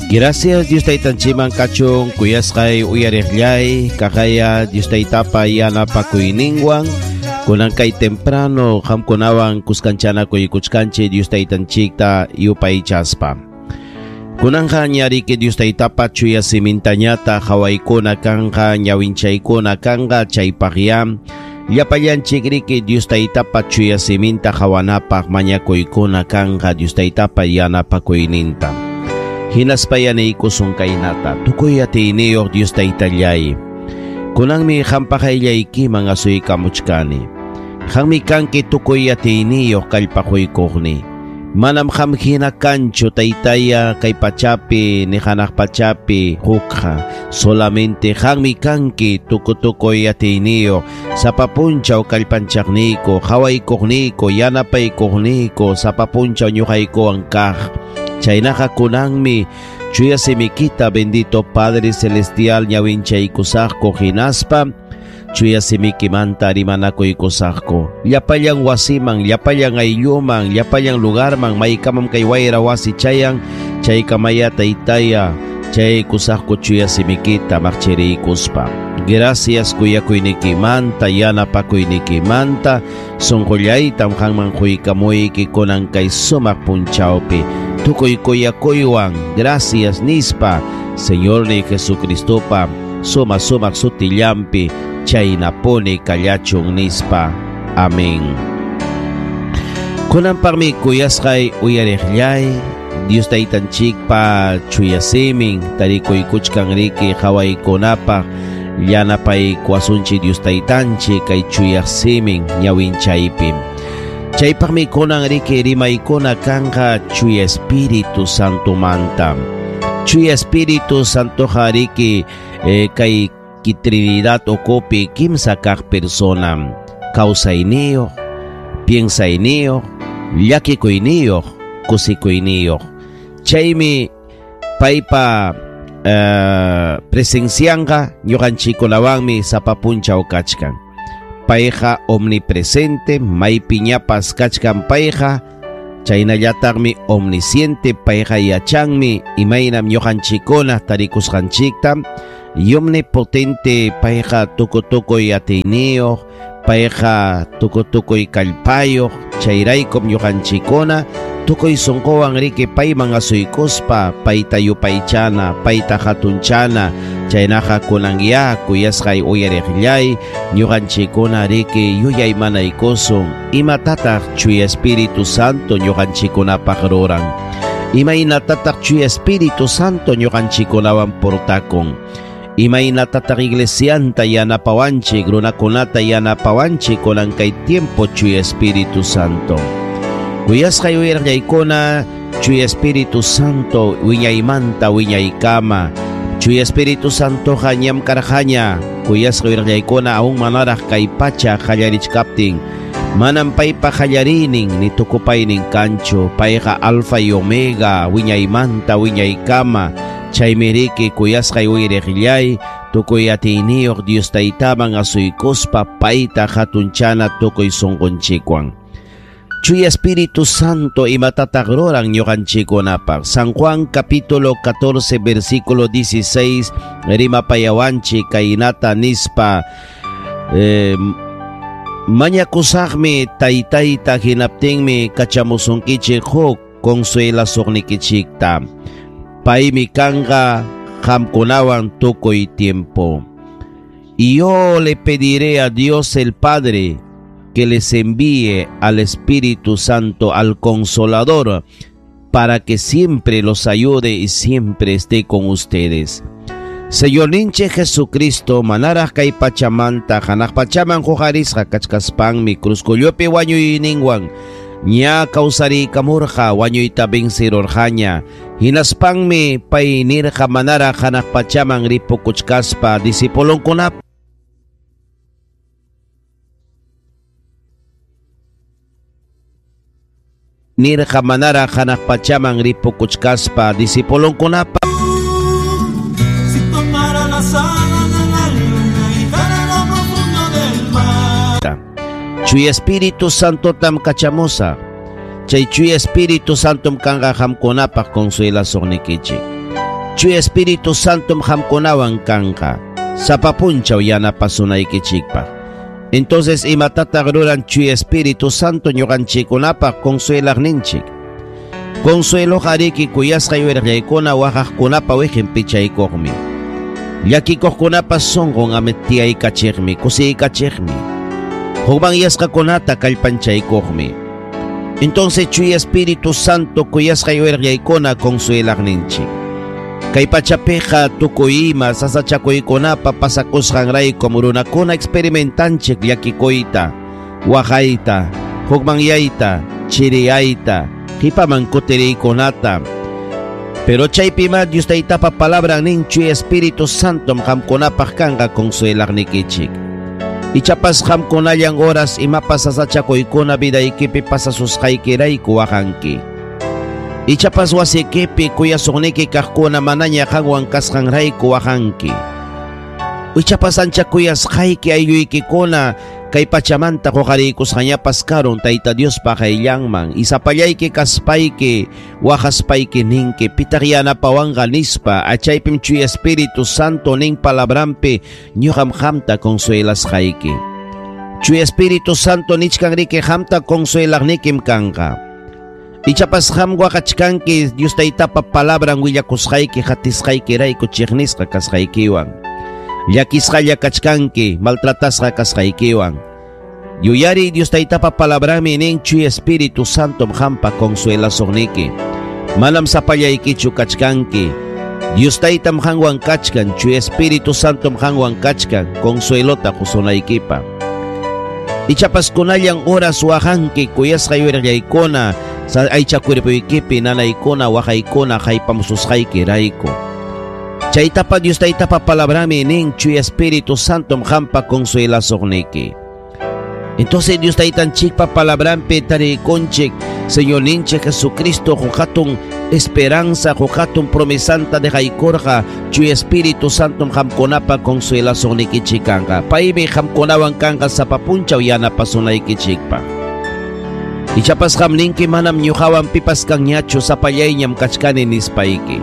Gracias Dios taytanchikman kachun kuyasqay uyariqllay kaqaya Dios taytapa yanapakuyninwan kunan kay temprano qamkunawan kuskanchanakuykuchkanchik Dios taytanchikta yupaychaspa. Kunanqa ñariki Dios taytapa chuya simintañata hawaykuna kanqa ñawinchaykuna kanqa chaypaqya llapallanchik riki Dios taytapa chuya siminta hawanapaq mañakuykuna kanqa Dios taytapa yanapakuyninta. Hinaspa yanaykusun kaynata tukuy atiyniyuq Dios taytallay. Kunanmi qampa qayllaykiman asuykamuchkani. Qammi kanki tukuy atiyniyuq kallpaquykuqni. Manam qam hina kanchu taytaya kay pachapi ni hanaq pachapi hukqa. Solamente qammi kanki tukutukuy atiyniyuq sapa punchaw kallpanchaqniyku, qhawaykuqniyku, yanapaykuqniyku, sapa punchaw ñuqaykuwan kaq. Chaynaqa kunanmi chuya simikita bendito Padre Celestial ñawinchaykusaqku hinaspa chuya simikimanta rimanakuykusaqku. Llapallan wasiman, llapallan aylluman, llapallan lugarman, maykamam kay wayra wasi chayan, chaykamaya taytaya, chaykusaqku chuya simikita maqchiriykuspa. Gracias kuyakuynikimanta, yanapakuynikimanta, sunqullaytam qanman quykamuyki kunan kay sumaq punchawpi. Tukuy kuyakuywan, gracias nispa, Señor ni Jesucristopa, suma sumaq sutillampi, chaynapuni kallachun nispa. Amén. Kunanpaqmi kuyasqay uyariqllay, Dios taytanchikpa chuya simin, tarikuykuchkan riki qhawaykunapaq, yanapaykuwasunchik Dios taytanchik kay chuya simin ñawinchaypi. Chaypaqmi kunan riki rimaykuna kanqa chuya Espíritu Santomanta. Chuya Espíritu Santoqa riki kay Trinidad ukupi kimsa kaq persona, kawsayniyuq, piensayniyuq, llakikuyniyuq, kusikuyniyuq. Chaymi paypa presencianqa ñuqanchikkunawanmi sapa punchaw kachkan. Payqa omnipresente, maypiñapas kachkan payqa, chaynallataqmi omnisciente, payqa yachanmi imaynam ñuqanchikkuna tarikusqanchikta, y omnipotente payqa tukutukuy atiyniyuq, payqa tukutukuy kallpayuq, chayraykum ñuqanchikkuna tukuy sunquwan riki payman asuykuspa payta yupaychana, payta hatunchana, chaynaqa kunanya kuyasqay uyariqllay, ñuqanchikkuna riki yuyaymanaykusun imatataq chuya Espíritu Santo ñuqanchikkunapaq ruran, imaynatataq chuya Espíritu Santo ñuqanchikkunawan portakun, imaynatataq iglesianta yanapawanchik, runakunata yanapawanchik kunan kay tiempo chuya Espíritu Santo. Kuyasqay uyariqllaykuna, chuya Espíritu Santo wiñaymanta wiñaykama, chuya Espíritu Santoqa ñam karqaña, kuyasqay uyariqllaykuna aún manaraq kay pacha qallarichkaptin, manam paypa qallariynin ni tukupaynin kanchu, payqa alfa y omega wiñaymanta wiñaykama. Chaymi riki kuyasqay uyariqllay, tukuy atiyniyuq Dios taytaman asuykuspa payta hatunchana tukuy sunqunchikwan. Chuya Espíritu Santo imatataq ruran ñuqanchikkunapaq. San Juan capítulo 14 versículo 16 rimapayawanchik kaynata nispa, mañakusaqmi taytayta hinaptinmi kachamusunkichik huk consuelasuqnikichikta. Paymi kanqa qamkunawan tukuy tiempo. Y yo le pediré a Dios el Padre que les envíe al Espíritu Santo, al Consolador, para que siempre los ayude y siempre esté con ustedes. Señorninchik Jesucristo, manaraq kay pachamanta, hanaq pachaman huqarisqa kachkaspanmi cruzkullupi wañuyninwan ña kawsarikamurqa wañuyta vencirurqaña. Hinaspanmi pay nirqa manaraq hanaq pachaman ripukuchkaspa discipulonkunap nirqa manaraq hanaq pachaman ripukuchkaspa discipulonkunapa Si tomara las alas de la luna y lo profundo del mar. Chuya Espíritu Santo tam kachamusa. Chay Chuya Espíritu Santom kanqa qamkunapaq consuelasuqnikichik. Chuya Espíritu Santom qamkunawan kanqa. Sapa punchaw yanapasunaykichikpaq. Entonces imatataq ruran Chuya Espíritu Santo ñuqanchikkunapaq consuelaqninchik. Consuelo qariki kuyasqay wirqaykuna waqaqkunapa wiqin pichaykuqmi. Llakikuqkunapa sunqun amitiyaykachiqmi, kusiykachiqmi. Hukmanyasqakunata kallpanchaykuqmi. Entonces Chuya Espíritu Santo kuyasqay wirqaykuna consuelaqninchik. Kay pachapiqa tukuy ima sasachakuykunapa pasakusqanraykum runakuna experimentanchik llakikuyta, waqayta, hukmanyayta, chiriyayta, qipaman kutiriykunata. Pero chaypima Dios Taytapa palabran nin Chuya Espíritu Santom qamkunapaq kanqa consuelaqnikichik. Ichapas qamkunallan horas imapas sasachakuykuna vidaykipi pasasusqaykirayku waqanki. Ichapas wasikipi kuyasuqniki kaqkuna manaña qanwan kasqanrayku waqanki. Ichapas ancha kuyasqayki aylluykikuna kay pachamanta quqariykusqañapas karun Tayta Diospa qayllanman. Isapallayki kaspayki waqaspayki ninki pitaq yanapawanqa nispa achaypim Chuya Espíritu Santo nin palabranpi ñuqam qamta consuelasqayki. Chuya Espíritu Santo nichkanriki qamta consuelaqnikim kanqa. Ichapas qam waqachkanki Dios Taytapa palabran willakusqayki hatisqaykirayku chiqnisqa kasqaykiwan. Llakisqalla kachkanki maltratasqa kasqaykiwan. Yuyari Dios Taytapa palabranmi nin Chuya Espíritu Santom qampa consuelasuqniki. Manam sapallaykichu kachkanki. Dios Taytam qanwan kachkan, Chuya Espíritu Santom qanwan kachkan consuelota qusunaykipa. Ichapas kunallan horas waqanki kuyasqay wirqaykuna sa aycha cuerpoykipi nanaykuna waqaykuna haypamususqaykirayku. Chaytapa Dios Taytapa palabrami nin Chuya Espíritu Santom qampa consuelasuqniki. Entonces Dios Taytanchikpa palabranpi tarikunchik Señorninchik Jesucristo huk esperanza, huk promesanta dejaykurqa Chuya Espíritu Santom qamkunapa consuelasuqnikichik kanqa. Paymi qamkunawan kanqa sapa punchaw yanapasunaykichikpaq. Ichapas qam ninki manam ñuqawan pipas kanñachu sapallayñam kachkani nispayki.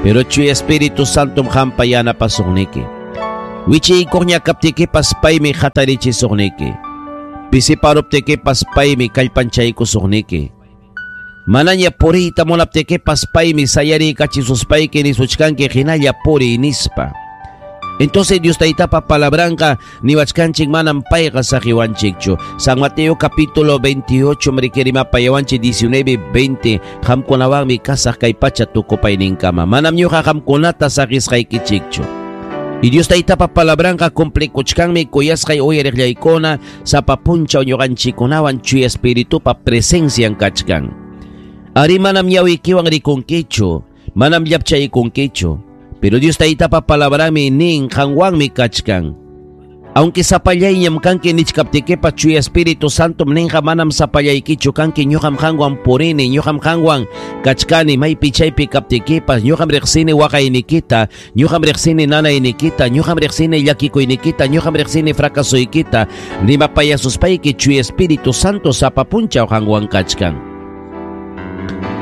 Pero Chuya Espíritu Santom qampa yanapasuqniki. Wichiykuqña kaptikipas paymi hatarichisuqniki. Pisiparuptikipas paymi kallpanchaykusuqniki. Manaña puriyta munaptikipas paymi sayariykachisuspayki nisuchkanki hinalla puriy nispa. Entonces Dios Taytapa palabranqa niwachkanchik manam payqa saqiwanchikchu. San Mateo capítulo 28 mrikirimapayawanchik 19 20 qamkunawanmi kasaq kay pacha tukupayninkama. Manam ñuqa qamkunata saqisqaykichikchu. Y Dios Taytapa palabranqa cumplikuchkanmi kuyasqay uyariqllaykuna sapa punchaw ñuqanchikkunawan Chuya Espiritupa presencian kachkan. Ari manam ñawiykiwan rikunkichu, manam llapchaykunkichu. Pero Dios Taytapa palabranmi nin qanwanmi kachkan. Aunque sapallayñam kanki nichkaptikipas Chuya Espíritu Santom ninqa manam sapallaykichu kanki ñuqam qanwan purini, ñuqam qanwan kachkani maypi chaypi kaptikipas, ñuqam riqsini waqaynikita, ñuqam riqsini nanaynikita, ñuqam riqsini llakikuynikita, ñuqam riqsini fracasoykita, rimapayasuspayki Chuya Espíritu Santo sapa punchaw qanwan kachkan.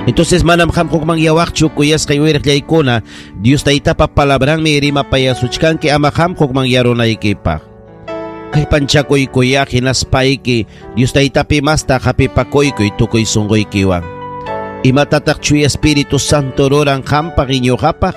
Entonces manam qam hukmanyawaqchu kuyasqay wirqllaykuna Dios Taytapa palabranmi rimapayasuchkanki ama qam hukmanyarunaykipaq. Kallpanchakuykuya hinaspayki Dios Taytapi masta hapipakuykuy tukuy sunquykiwan. Imatataq Chuya Espíritu Santo ruran qampaq ñuqapaq?